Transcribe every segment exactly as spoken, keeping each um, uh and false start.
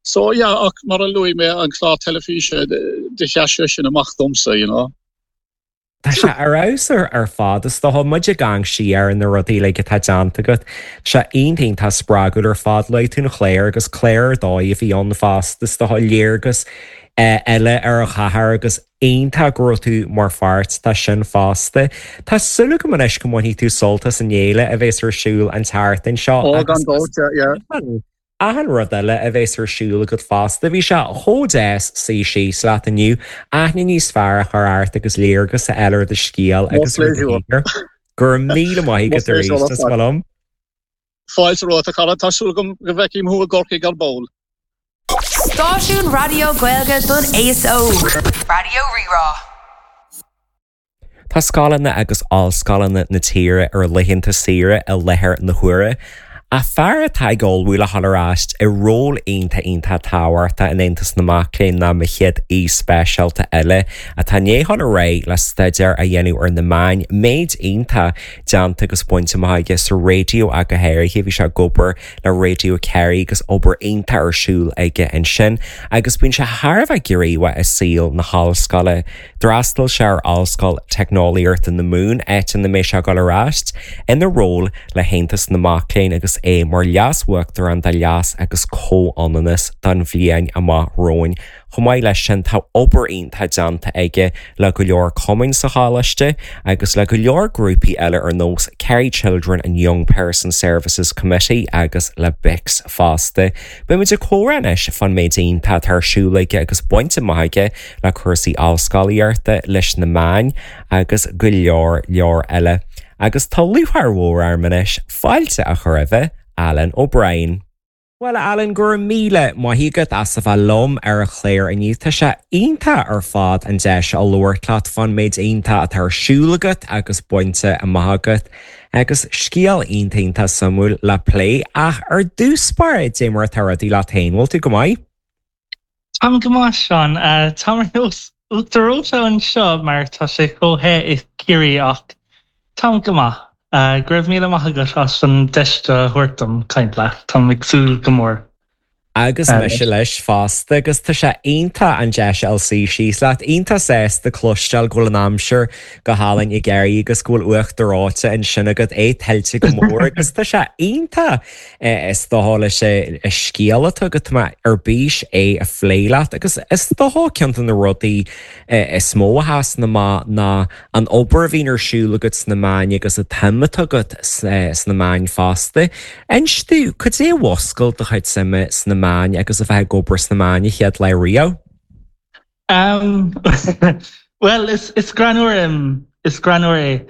So yeah, ach mar a luaigh mé an clár teilifíse do sheas sé sin amach domsa, you know. Tá sé ar fheabhas ar fad is dócha muid ag amharc siar ar na rudaí like atá déanta agat. Sé iontach tá spreagúil ar fad le tú an chléir agus cléir dóigh a bhí ann fosta is dócha léargas eile ar an chathair agus iontach go raibh tú mar pháirt de sin fosta. Tá súil agam anois go mbainfidh tú sult as an fhéile a bheas ar siúl an tseachtain seo. Ó gan dabht, Achan rud eile a bheas ar siúl agat fosta, bhí sé chomh deas suí síos leat inniu, aithne níos fearr a chur ort agus léargas a fháil ar do scéal agus ar do shaothar. Go raibh míle maith agat arís is maith liom. Fáilte romhat a chara tá súil agam go bhfeicfidh thú i gCorcaigh ar ball. Stáisiún Raidió Gaeilge don aos óg. Raidió Rí-Rá. Tá scoileanna agus ollscoileanna na tíre ar laethanta saoire i láthair na huaire. A fear atá ag ullmhú le dhul ar ais i ról iontach iontach tábhachtach in Aontas na Mac Léinn ná mo chéad aoi speisialta eile atá i ndiaidh dul ar aghaidh le staidéar a dhéanamh ar na meáin méid iontach déanta agus bainte amach aige sa raidió ach go háirithe bhí sé ag obair le Radio Kerry agus obair iontach ar siúl aige ansin agus bíonn sé thar a bheith gníomhach i saol na hollscoile. D'fhreastail sé ar Ollscoil Teicneolaíochta na Mumhan áit ina mbeidh sé ag dul ar ais ina ról le hAontas na Mac Léinn agus é mar leas-uachtarán do leas agus comhionannas don bhliain amach romhainn. Chomh maith leis sin tá obair iontach déanta aige le go leor cumainn sa choláiste agus le go leor grúpaí eile ar nós Kerry Children and Young Person Services Committee agus le BICS fosta. Beimid ag comhrá anois fán méid iontach atá ar siúl aige agus bainte amach aige le cúrsaí ollscolaíochta leis na meáin agus go leor leor eile. Agus tá lúcháir mhór orm anois fáilte a chur roimh Alan O'Brien. Well Alan go raibh míle maith agat as a bheith liom ar an chlár inniu Tá sé iontach ar fad an deis a labhairt leat fán méid iontach atá ar siúl agat agus bainte amach agat agus scéal iontach iontach suimiúil le plé ach ar dtús báire cad é mar atá rudaí leat féin, bhfuil tú go maith? Táim go maith Seán Tá nós uachtar reoite anseo mar tá sé chomh te i Ciarraí ach táim go maith. Go raibh míle maith agat as an deis a thabhairt dom caint leat Táim ag súil go mór. Agus mise leis fosta agus tá sé iontach an deis a suí síos leat iontach sásta cloisteáil go bhfuil an aimsir go hálainn i gCiarraí agus go bhfuil uachtar reoite ansin agat é tuillte go mór agus tá sé iontach is dócha leis an scéal atá agat mé ar bís é a phlé leat agus is dócha ceann de na rudaí is mó a sheasann amach ná an obair a bhíonn ar siúl agat sna meáin agus an tsuim atá agat sna meáin fosta. Inis domh cad é a mhúscail do chuid suime sna meáin agus a bheith ag obair sna meáin an chéad lá riamh? Um, well is is greannmhar um, is greannmhar é.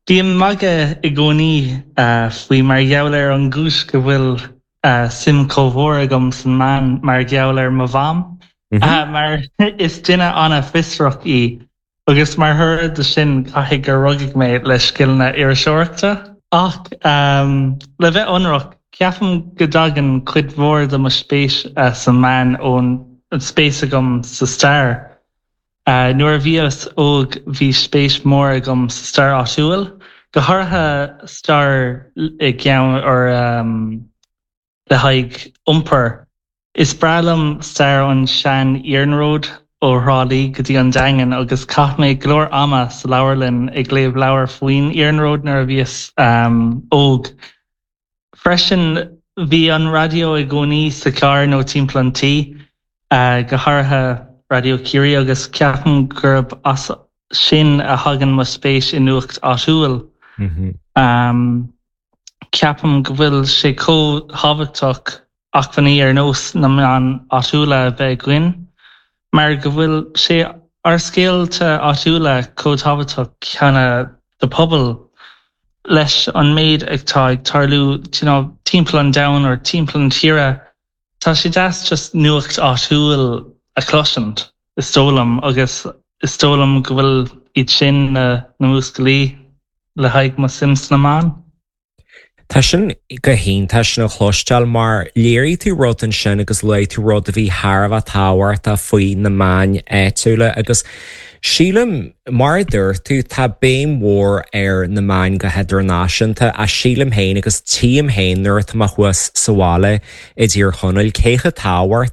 Bím ag magadh i gcónaí uh, faoi mar gheall ar an gcúis go bhfuil uh, suim chomh mór agam san meán mar gheall ar mo mham. Mm -hmm. uh, mar is duine an-fhiosrach í. agus mar thoradh de sin caithfidh gur rugadh mé le scileanna iriseoireachta ach um, le bheith ionraic ceapaim go dtagann cuid mhór de mo spéis uh, sa meán ón an spéis agam sa stair. Uh, nuair a bhíos óg bhí spéis mór agam sa stair áitiúil, go háirithe stair i gceann or um, le haghaidh iompar. Is breá liom stair an sean-iarnróid ó Thrá Lí go dtí an Daingean agus chaith mé go leor ama sa leabharlann ag léamh leabhar faoin iarnród nuair a bhíos um, óg. Freisin bhí an raidió i gcónaí sa charr nó timpeall an tí, uh, go háirithe Radio Ciarraí agus ceapaim gurb as sin a thagann mo spéis i nuacht áitiúil. Mm -hmm. Um, ceapaim go bhfuil sé chomh tábhachtach acmhainní ar nós na meáin áitiúla a bheith againn, mar go bhfuil sé ár scéalta áitiúla chomh tábhachtach céanna do pobal leis an méid atá ag tarlú you know, timpeall an domhain or timpeall an tíre Tá sé deas just nuacht áitiúil a chloisint is dóigh liom agus is dóigh liom go bhfuil iad sin na na músclaí le haghaidh mo suim sna meáin. Tá sin go hiontach sin a chloisteáil mar léirigh tú rud ansin agus luaigh tú rud a bhí thar a bheith tábhachtach faoi na meáin áitiúla agus sílim mar a dúirt tú tá béim mhór ar na meáin go hidirnáisiúnta a sílim féin agus tím féin nuair atá mé thuas sa bhaile i dTír Chonaill cé chomh tábhachtach